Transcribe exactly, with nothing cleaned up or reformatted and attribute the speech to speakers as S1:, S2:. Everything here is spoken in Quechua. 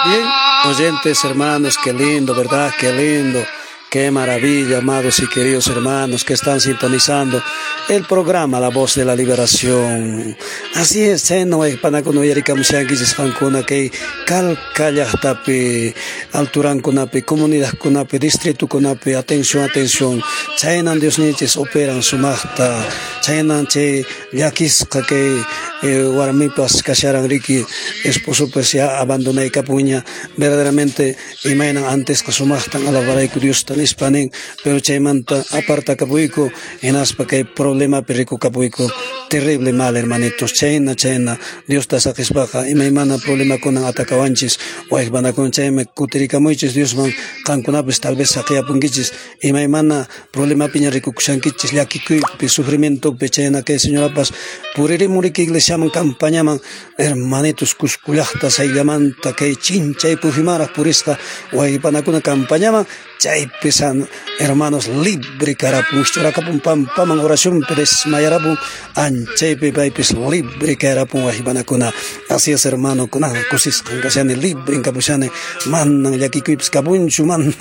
S1: Bien, oyentes, hermanos, qué lindo, ¿verdad? Qué lindo. Qué maravilla, amados y queridos hermanos que están sintonizando el programa La Voz de la Liberación. Así es, chayna wayqpanakuna uyarikamushankichis qankuna kay Calca llaqtapi, alturankunapi, comunidadkunapi, distritukunapi, atención, atención. Chaynan Diosninchis operan sumaqta, chaynan chay llakisqa kay eh, warmipas kasharan riki, esposopas ya abandonaykapuña, verdaderamente imaynan antesqa sumaqtan alabarayku Diosta nispa nin, pero chaymanta apartakapuyku, hinaspa kay problemapi rikukapuyku, terrible mal, hermanitos, chayna, chayna, Diosta saqispaqa imaymana problemakunan atakawanchis, wayqpanakuna chaymi kutirikamuychis Diosman, qankunapis tal vez saqiyapunkichis, imaymana problemapiña rikukushankichis, llakikuypi, sufrimientopi, chayna kay señorapas puririmun riki iglesiaman, campañaman, hermanitos, Cusco llaqta sayllamanta kay chinchay pujimaraq purisqa wayqpanakuna campañaman, chaypi san hermanos libre karapun, churakapun pampaman oracionpi desmayarapun, anchaypi paypis libre karapun wayqpanakuna. Así es, hermano, kunan kusisqan kashani, libre kapushani, manan llakikuypis kapunchu, manan.